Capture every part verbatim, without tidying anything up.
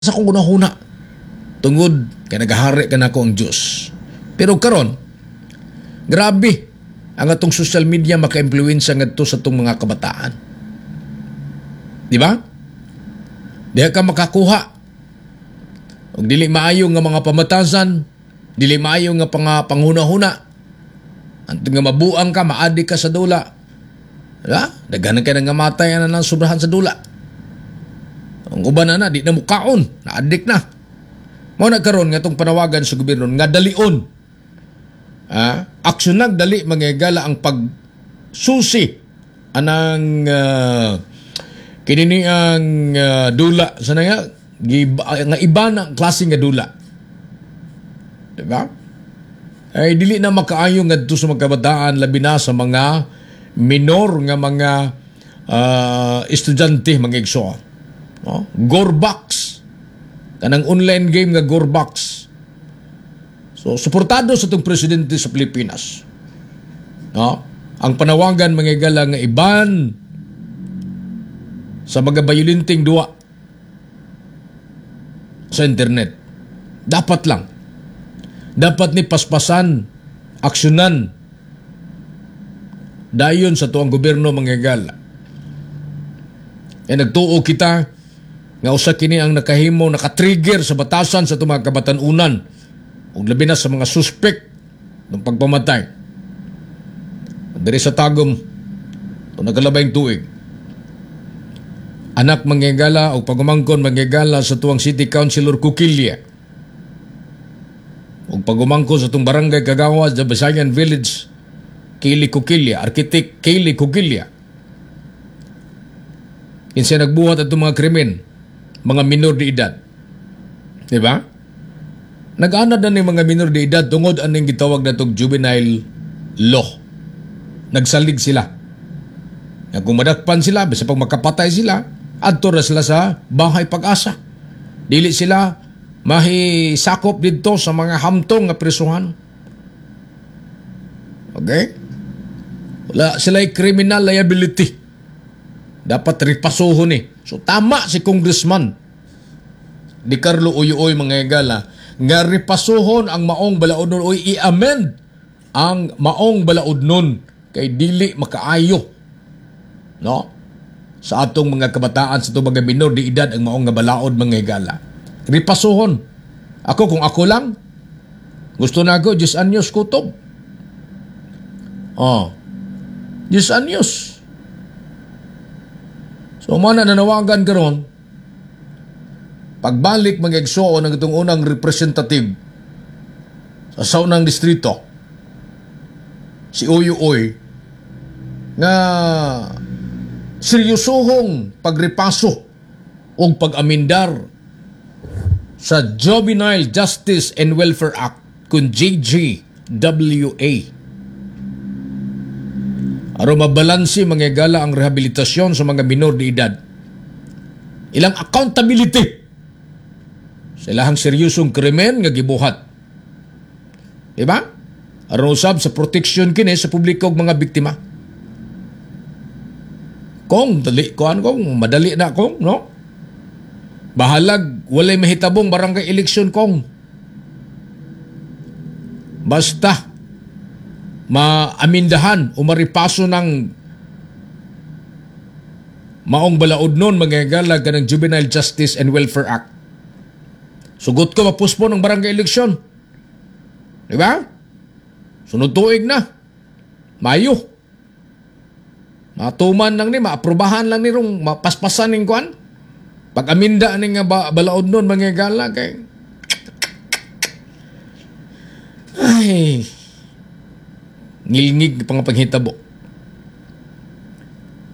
Sa akong hunahuna tungod kay nagahari ka nako ang Dios. Pero karon, grabe ang atong social media maka-impluwensya ngadto sa atong mga kabataan. Di ba? Diha ka makakuha og dili maayo nga mga pamatasan, dili maayo nga panga panghuna-huna. Antong nga mabuang ka, maadi ka sa dula. Diba? Daghan kay nga matay ana nang sobrahan sa dula. Ang uban na na, di na mukaon, na-addict na. Mao na karon nga itong panawagan sa gobyerno nga dalion. Ah, aksyon nag dali, mga higala, ang pagsusi anang uh, kinini ang uh, dula sa nga nga iba na ang klase nga dula. Diba? Ay dili na makaayo ngadto sa mga kabataan, labi na sa mga minor nga mga uh, estudyante, mga igsoon. No? Gorbox. Kanang online game nga Gorbox. So suportado sa itong presidente sa Pilipinas. No? Ang panawagan, mga higala, nga i-ban sa mga bayolenteng duwa sa internet. Dapat lang. Dapat ni paspasan, aksyonan dayon sa tuang gobyerno, mga higala. E nagtuo kita nga usa kini ang nakahimo, nakatrigger sa batasan sa itong mga kabatanunan ug labi na sa mga suspect ng pagpamatay. Diri sa Tagum, ito nagkalabayng tuig. Anak, mga higala, o pagumangkon, mga higala, sa tuwang City Councilor Kukilya. O pagumangkon sa itong barangay kagawad sa Basayan Village, Kaylee Kukilya, Architect Kaylee Kukilya. Kinsa nagbuhat atong mga krimen, mga minor de edad. Di ba? Nag-anad na ni mga minor de edad tungod aning gitawag natong juvenile law. Nagsalig sila. Nga kung madakpan sila, basta pag makapatay sila, adto ra sila sa Bahay Pag-asa. Dili sila mahisakop didto sa mga hamtong nga prisuhan. Okay? Wala sila criminal liability. Dapat ripasuhon ni. So tama si Congressman Di Carlo Uyuoy, mga higala, nga ripasuhon ang maong balaod nun oy i-amend ang maong balaod nun kay dili makaayo, no, sa atong mga kabataan, sa atong mga minor de edad ang maong nga balaod, mga higala. Ripasuhon. Ako, kung ako lang, gusto na ako diyes anyos kutob. Oh, diyes anyos. So mana nanawagan karon pagbalik, mga igsuon, ng itong unang representative sa saunang distrito, si Uyo Uy, nga seryosohong pagrepaso o pag-amindar sa Juvenile Justice and Welfare Act kung J J W A aron mabalansi, mga higala, ang rehabilitasyon sa mga minor de edad, ilang accountability sa ilahang seryosong krimen nga gibuhat. Di ba? Aron usab sa protection kini sa publiko ug mga biktima. Kung dali kuan, kung madali na kung no. Bahalag walay mahitabong barangay election kong. Basta maamindahan o maripaso ng maong balaod nun, mga higala, ng Juvenile Justice and Welfare Act. Sugot ko mapuspon ang barangay election. Di ba? Sunod tuig na. Mayo. Matuman lang ni, maaprubahan lang ni rong mapaspasan ning kuan. Pag-aminda ni nga ba, balaod nun, mga higala, kay ay ngilngig pa nga paghitabo.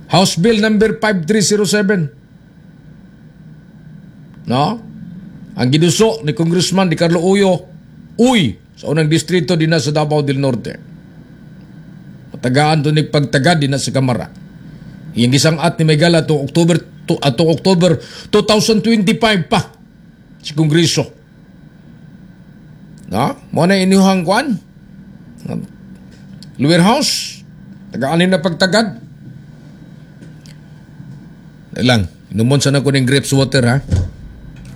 House Bill number five three zero seven. No? Ang giduso ni Congressman Di Carlo Uyo Uy sa unang distrito din na sa Davao del Norte. Patagaan to ni pagtagad din na sa Kamara. Iyang gisang-at ni Megala to October to, ato October twenty twenty-five pa sa Kongreso. No? Mo na inyuhang kuan. Lower House. Tagaan na pagtagad. Dahil lang, inumon sana ko ng grapes water, ha.